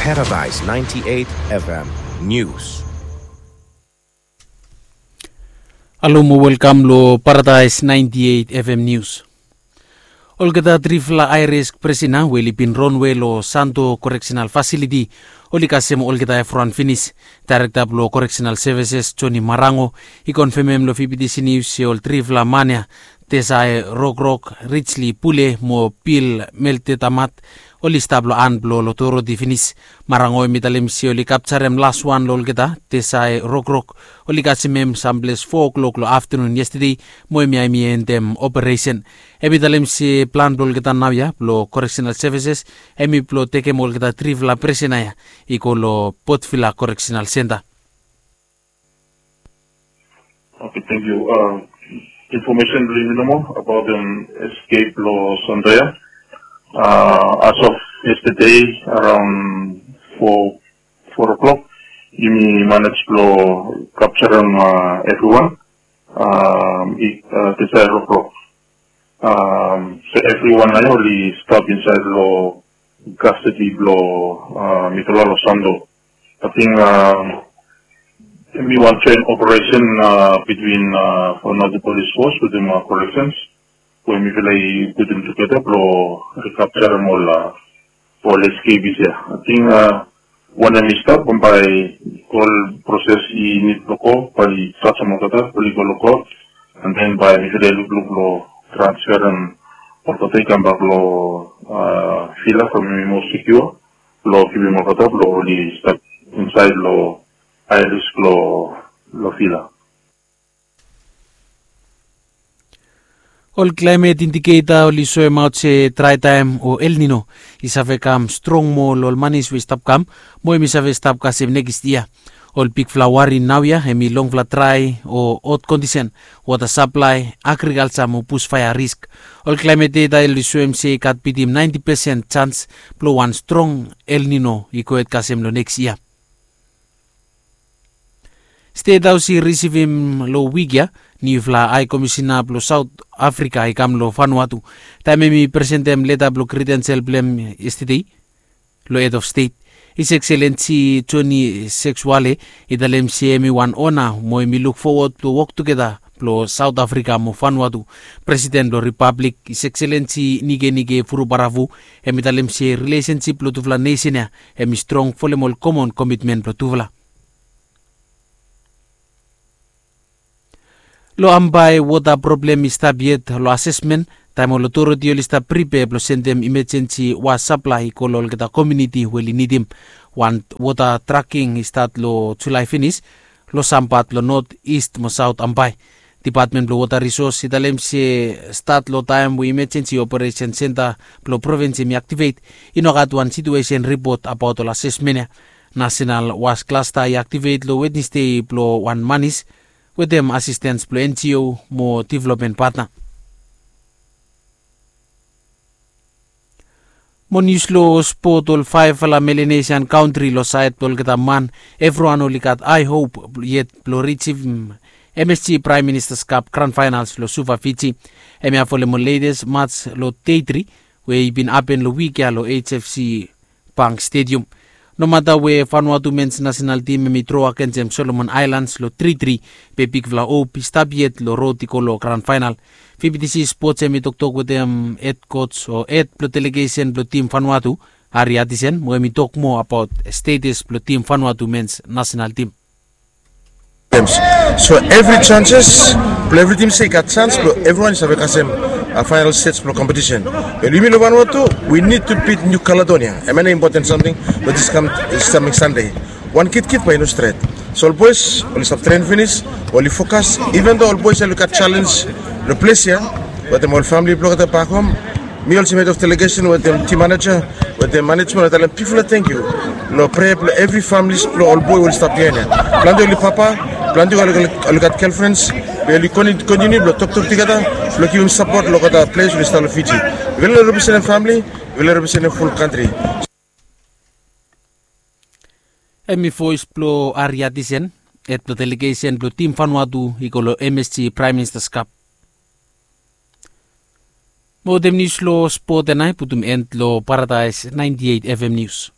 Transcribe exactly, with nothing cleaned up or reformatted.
Paradise ninety-eight F M News. Alo mo welkam lo Paradise ninety-eight F M News. Olgeta trifala high risk prisona we oli bin ronwe lo Santo Correctional Facility oli kasem olgeta evriwan finis. Daerekta blo Correctional Services Johnny Marango i konfemem lo V B T C News se ol trifala man ya, Tesai Rokrok, Richly Pule mo Bill Meltetamat, oli stap lo han blo otoriti finis. Marango hemi talem se oli kapjarem laswan lo olgeta. Tesai Rokrok oli kasem hem samples fo klok lo aftenun yestade mo hemia hemi endem operesen. Hemi talem se plan blo olgeta naoia blo Correctional Services hemi blo tekem olgeta trifala prisona ya i go lo Port Vila Correctional Centre. Okay, thank you. Uh, information blo yumi nomo about the escape lo Santo ya. Uh, as of yesterday around four four o'clock, yumi manage blo capture uh, everyone. Um, i, uh, Tesai Rokrok. Um, so everyone naoia oli stap insaed lo custody blo uh, mitufala lo Santo. I think um, hemi wan joint operation uh, between uh, Vanuatu Police Force wetem uh, corrections we mifala i putum tugeta blo recapturem ol uh, ol escapees ya. I think uh, wanem i stap bambae ol proses i nid blo go bae oli jasem olgeta oli go lo court, and then bae mifala i lukluk blo transferem olgeta i kambak lo uh, villa from hemi moa secure blo givim olgeta blo oli stap insaed lo high risk lo lo villa. Ol klaemet indiketa oli soemaot se drae taem o El Nino i save kam strong moa lo ol manis we i stap kam mo hemi save stap kasem nekis yia. Ol bigfala wari naoia hemi longfala drae o hot kondisen, wota saplae, agrikalja mo busfaea risk. Ol klaemet deta oli soem se i gat bitim naenti pesen jans blo wan strong El Nino i gohed kasem lo nekis yia. Stet Haos i risivim lo wik ya niufala hae komisena blo Saot Afrika i kam lo Vanuatu. Taem hemi presentem leta blo kredensel blo hem yestade lo hed of stet, His Excellency Johnny Sexwale i talem se hemi wan ona mo hemi luk fowod blo wok tugeta blo Saot Afrika mo Vanuatu. Presiden blo Ripablik, His Excellency Nikenike Vurobaravu, hemi talem se rilesensip blo tufala nesen ya hemi strong folem ol komon komitmen blo tufala. Lo Ambae, wota problem i stap yet lo asesmen taem ol otoriti oli stap pripea blo sendem imajensi wota saplae i go lo olgeta komuniti we oli nidim. Wan wota traking i stat lo Julae finis lo sam pat blo not, ist mo saot Ambae. Dipatmen blo Wota Risos i talem se stat lo taem we imajensi operesen senta blo provins hemi aktivet, i no gat wan situesen ripot abaot ol asesmen ya. Nasenal was klasta i aktivet lo Wednesde blo wan manis wetem asistens blo N G O mo developmen patna. Mo nius lo spot, ol faefala Melanesian kantri lo saed blo olgeta man, evriwan oli gat hae hop yet blo risivim M S G Prime Minister's Cup Grand Finals lo Suva, Fiji. Hemia folem ol letes mats lo dei tri we i bin hapen lo wik ya lo H F C Bank Stadium. Nomata we Vanuatu mens nasenal tim hemi dro agensem Solomon Aelans lo tri tri, be bigfala hop i stap yet lo rod i go lo gran faenal. V B T C Sports hemi toktok wetem hed koj o hed blo delegesen blo tim Vanuatu, Harry Artisan, mo hemi tok moa abaot status blo tim Vanuatu mens nasenal tim. Games. So evri chances blo evri tim se i gat chans blo evriwan i save kasem faenal stej blo kompetisen. Be yumi lo Vanuatu, we need to beat New Caledonia. Hemia nao impoten samting blo dis kam, samting Sande. Wan kitkit bae i no stret. So ol boes oli stap tren finis, oli fokas, even though ol boes oli gat chalens lo ples ya wetem ol famili blo olgeta bak hom. Mi olsem hed of delegesen wetem tim maneja wetem manejmen, mi talem bigfala tangkiu lo prea blo evri familis blo ol boe we oli stap biaen ya. Plante oli papa, plante oli gat gelfrens, be oli kontiniu blo toktok tugeta blo givim sapot lo olgeta ples oli stap lo Fiji. Yufala representem famili, yufala representem ful kantri. Hemi voes blo Harry Artisan, hed blo delegesen blo tim Vanuatu i go lo M S G Prime Minister's Cup. Mo wetem nius lo spot ya nao i putum en lo Paradise ninety-eight F M News.